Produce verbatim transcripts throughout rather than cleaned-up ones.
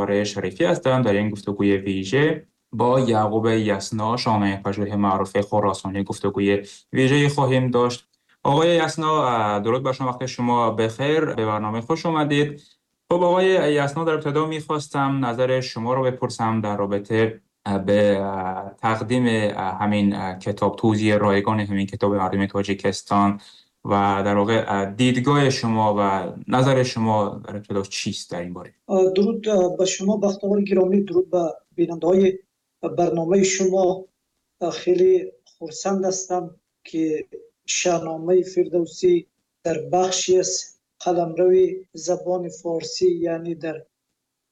بختاور شریفی هستم. در این گفتگوی ویژه با یعقوب یسنا، شاهنامه پژوه معروف خراسانی، گفتگوی ویژه خواهیم داشت. آقای یسنا، درود بر شما، وقت شما بخیر، به برنامه خوش اومدید. خب آقای یسنا، در ابتدا میخواستم نظر شما رو بپرسم در رابطه به تقدیم همین کتاب، توزیع رایگان همین کتاب مردم تاجیکستان و در واقع دیدگاه شما و نظر شما در ابتدا چیست در این باره؟ درود به شما بختاور گرامی، درود به بیننده‌های برنامه شما. خیلی خرسند هستم که شاهنامه فردوسی در بخشی از قلمرو زبان فارسی، یعنی در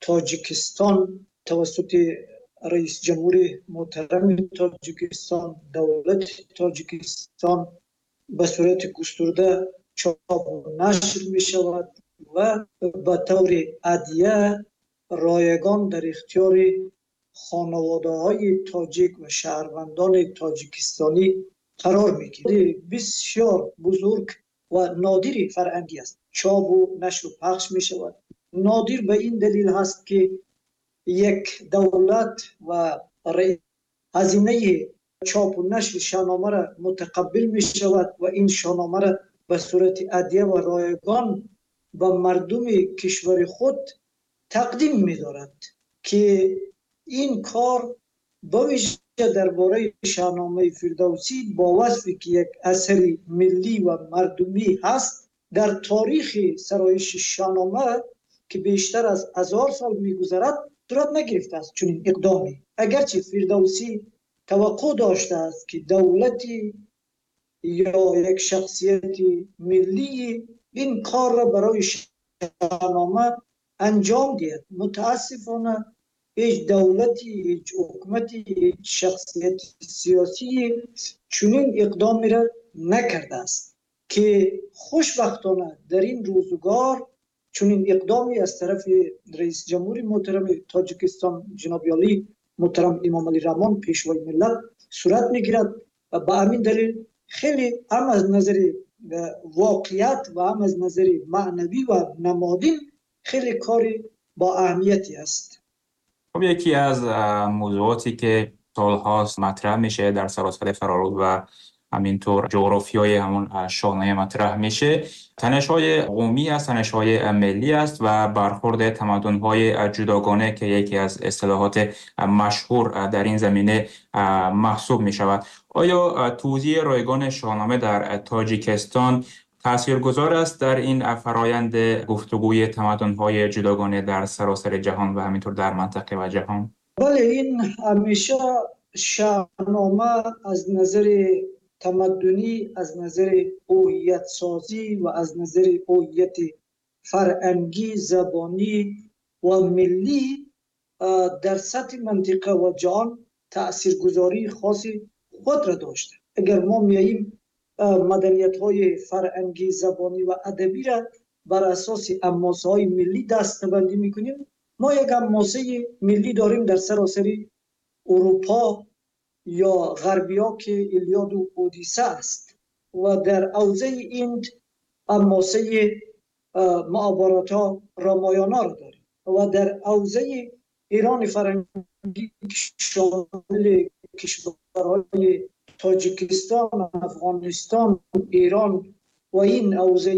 تاجیکستان، توسط رئیس جمهور محترم تاجیکستان، دولت تاجیکستان به صورت گسترده چاپ و نشر می شود و به طور هدیه رایگان در اختیار خانواده های تاجیک و شهروندان تاجیکستانی قرار می گیرد. بسیار بزرگ و نادر فرهنگی است. چاپ و نشر و پخش می شود. نادر به این دلیل هست که یک دولت و هزینه چاپ و نشر شاهنامه را متقبل می شود و این شاهنامه را به صورت هدیه و رایگان به مردم کشور خود تقدیم می دارد که این کار به ویژه درباره شاهنامه فردوسی با وصفی که یک اثر ملی و مردمی هست، در تاریخ سرایش شاهنامه که بیشتر از هزار سال می‌گذرد صورت نگرفته است چنین اقدامی. اگرچه فردوسی توقع داشته است که دولتی یا یک شخصیت ملی این کار را برای شاهنامه انجام دهد، متاسفانه هیچ دولتی، هیچ حکومتی، هیچ شخصیت سیاسی چنین اقدامی را نکرده است که خوشبختانه در این روزگار چنین اقدامی از طرف رئیس جمهور محترم تاجیکستان جناب عالی محترم امام علی رحمان پیشوای ملت صورت میگیرد و به همین دلیل خیلی هم از نظر واقعیت و هم از نظر معنوی و نمادین خیلی کاری با اهمیتی است. خب یکی از موضوعاتی که سالهاست مطرح میشه در سراسر فرارود و همینطور جغرافیای همون شاهنامه مطرح میشه، تنش‌های قومی است، تنش‌های ملی است و برخورد تمدن‌های جداگانه که یکی از اصطلاحات مشهور در این زمینه محسوب میشود. آیا توزیع رایگان شاهنامه در تاجیکستان تاثیرگذار است در این فرایند گفتگوی تمدن‌های جداگانه در سراسر جهان و همینطور در منطقه و جهان؟ بله، این همیشه شاهنامه از نظر تمدنی، از نظر هویت سازی و از نظر هویت فرهنگی، زبانی و ملی در سطح منطقه و جهان تاثیرگذاری خاصی خود را داشته. اگر ما میاییم مدنیت های فرهنگی، زبانی و ادبی را بر اساس اماسه های ملی دسته‌بندی میکنیم، ما یک اماسه ملی داریم در سراسر اروپا یا غربیا که ایلیاد و اودیسه است و در حوزه این اماسه معابراتا رامایانا را داریم و در حوزه ایران فرهنگی شامل کشورهای تاجیکستان، افغانستان، ایران و این حوزه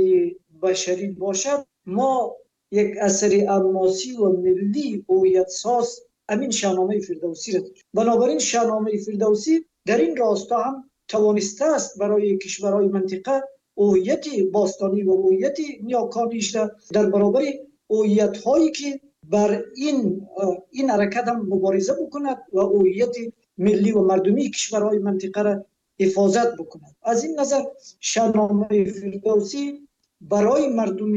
بشری باشد، ما یک اثر اماسی و ملی هویت ساز همین شاهنامه فردوسی را داریم. بنابراین شاهنامه فردوسی در این راستا هم توانسته است برای کشورهای منطقه هویت باستانی و هویت نیاکانیش را در برابر هویت هایی که بر این این حرکت هم مبارزه بکند و هویت ملی و مردمی کشورهای منطقه را حفاظت بکند. از این نظر شاهنامه فردوسی برای مردم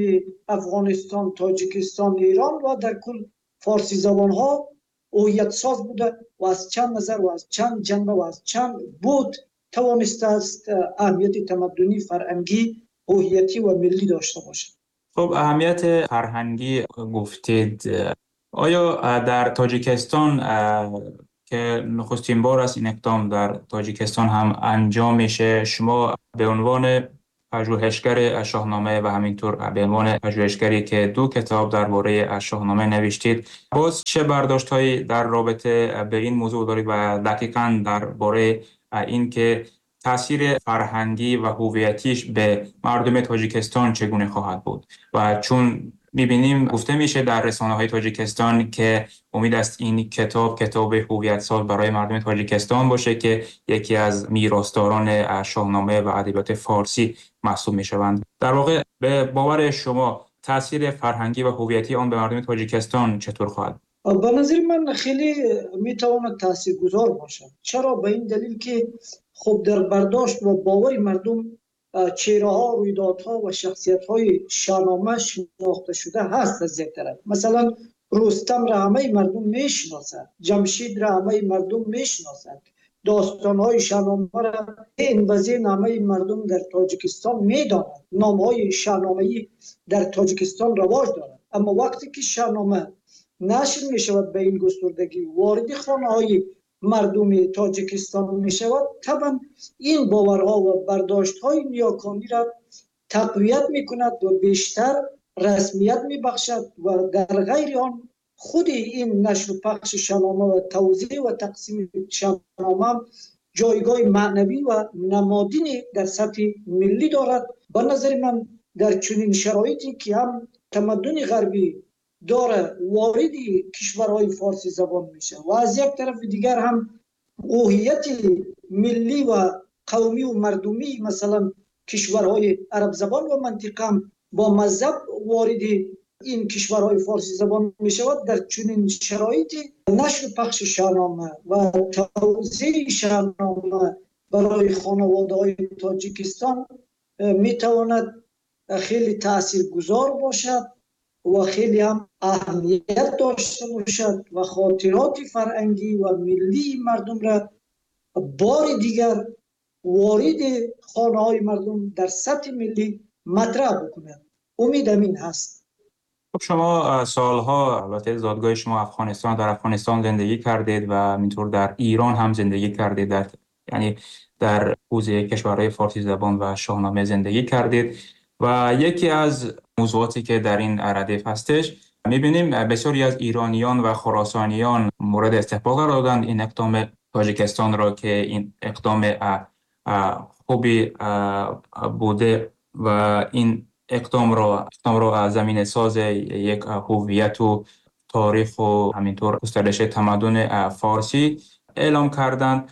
افغانستان، تاجیکستان، ایران و در کل فارسی زبان ها هویت ساز بوده و از چند نظر و از چند جنبه و از چند بود توانسته است اهمیت تمدنی، فرهنگی، هویتی و ملی داشته باشد. خب اهمیت فرهنگی گفتید، آیا در تاجیکستان که نخستین بار است این اقدام در تاجیکستان هم انجام میشه، شما به عنوان پژوهشگر شاهنامه و همینطور به عنوان پژوهشگری که دو کتاب درباره شاهنامه نوشتید، باز چه برداشت‌هایی در رابطه به این موضوع دارید و دقیقاً درباره این که تاثیر فرهنگی و هویتیش به مردم تاجیکستان چگونه خواهد بود؟ و چون می‌بینیم گفته میشه در رسانه‌های تاجیکستان که امید است این کتاب کتاب هویت ساز برای مردم تاجیکستان باشه که یکی از میراثداران شاهنامه و ادبیات فارسی محسوب می‌شوند. در واقع به باور شما تاثیر فرهنگی و هویتی آن به مردم تاجیکستان چطور خواهد؟ به نظر من خیلی می‌تواند تاثیرگذار باشد. چرا؟ به این دلیل که خب در برداشت و باور مردم چهره‌ها، رویدادها و شخصیت‌های شاهنامه شناخته شده هست از یک طرف. مثلا رستم را همه مردم میشناسند، جمشید را همه مردم میشناسند، داستان‌های شاهنامه را این وزین همه مردم در تاجیکستان میدانند، نام‌های شاهنامه‌ای در تاجیکستان رواج دارند. اما وقتی که شاهنامه نشر میشود به این گستردگی وارد خانه‌های مردم تاجیکستان می شود، طبعا این باورها و برداشت‌های نیاکانی را تقویت می کند و بیشتر رسمیت می بخشد و در غیر آن خود این نشر و پخش شاهنامه و توزیع و تقسیم شاهنامه جایگاه معنوی و نمادینی در سطح ملی دارد. به نظر من در چنین شرایطی که هم تمدن غربی داره وارد کشورهای فارسی زبان میشه و از یک طرف دیگر هم هویت ملی و قومی و مردمی مثلا کشورهای عرب زبان و منطقه هم با مذهب وارد این کشورهای فارسی زبان میشود، در چنین شرایطی نشر پخش شاهنامه و توزیع شاهنامه برای خانواده های تاجیکستان میتواند خیلی تاثیرگذار باشد و خیلی هم اهمیت داشته باشد و خاطرات فرهنگی و ملی مردم را بار دیگر وارد خانه های مردم در سطح ملی مطرح بکند. امیدم این هست. خب شما سالها، البته زادگاه شما افغانستان، در افغانستان زندگی کردید و همینطور در ایران هم زندگی کردید، در یعنی در حوزه کشورهای فارسی زبان و شاهنامه زندگی کردید و یکی از موضوعاتی که در این ردیف هستش می‌بینیم بسیاری از ایرانیان و خراسانیان مورد استقبال قرار دادند این اقدام تاجیکستان را که این اقدام خوبی بوده و این اقدام را اقدام را از زمین ساز یک هویت و تاریخ و همینطور گسترش تمدن فارسی اعلام کردند.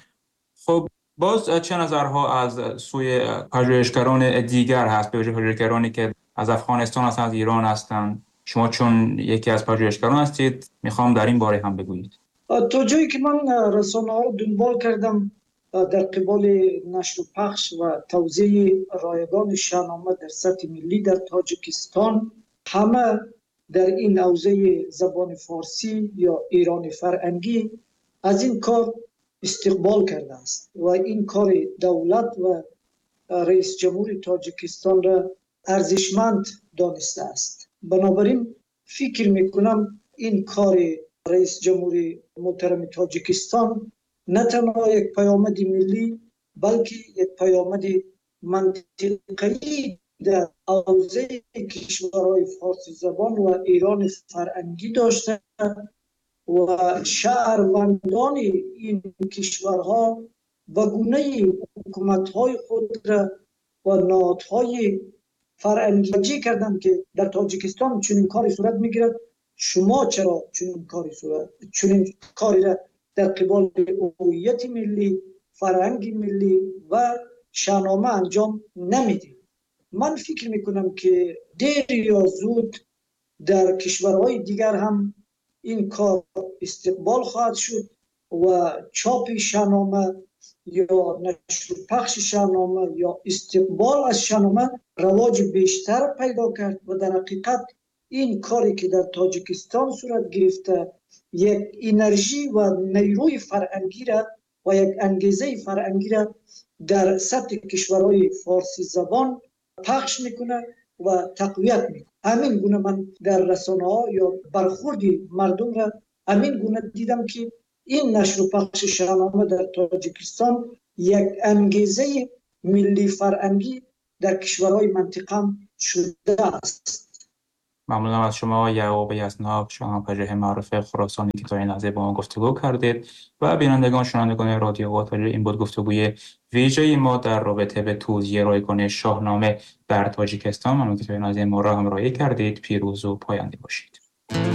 خب باز چه نظرها از سوی پژوهشگران دیگر هست، به ویژه پژوهشگرانی که از افغانستان هستند، از ایران هستند؟ شما چون یکی از پژوهشگران هستید میخوام در این باره هم بگویید. تا جایی که من رسانه‌ها رو دنبال کردم در قبال نشر و پخش و توزیع رایگان شاهنامه در سطح ملی در تاجیکستان، همه در این حوزه زبان فارسی یا ایران فرهنگی از این کار استقبال کرده است و این کار دولت و رئیس جمهور تاجیکستان را ارزشمند دانسته است. بنابراین فکر میکنم این کار رئیس جمهور محترم تاجیکستان نه تنها یک پیامد ملی بلکه یک پیامد منطقه‌ای در حوزه کشورهای فارسی زبان و ایران فرهنگی داشته و شهروندان این کشورها به گونه حکومت‌های خود را و نهادهای فرهنگی کردند که در تاجیکستان چنین کاری صورت می‌گیرد، شما چرا چنین کاری صورت چنین کاری را در قبال هویت ملی، فرهنگ ملی و شاهنامه انجام نمیدید؟ من فکر میکنم که دیر یا زود در کشورهای دیگر هم این کار استقبال خواهد شد و چاپ شاهنامه یا نشر پخش شاهنامه یا استقبال از شاهنامه رواج بیشتر پیدا کرد و در حقیقت این کاری که در تاجیکستان صورت گرفته یک انرژی و نیروی فرهنگی را و یک انگیزه فرهنگی را در سطح کشورهای فارسی زبان پخش میکنه و تقویت میکنه. همین گونه من در رسانه ها یا برخورد مردم را همین گونه دیدم که این نشر و پخش شاهنامه در تاجیکستان یک انگیزه ملی فرهنگی در کشورهای منطقه شده است. ممنونم از شما یعقوب یزناک، شاهنامه‌پژوه معروف خراسانی که تا این لحظه با ما گفتگو کردید و بینندگان شنوندگان رادیو آواتاجی، این بود گفتگوی ویژه ما در رابطه به توزیع رایگان شاهنامه در تاجیکستان. ممنون که تا این لحظه ما را همراهی کردید. پیروز و پاینده باشید.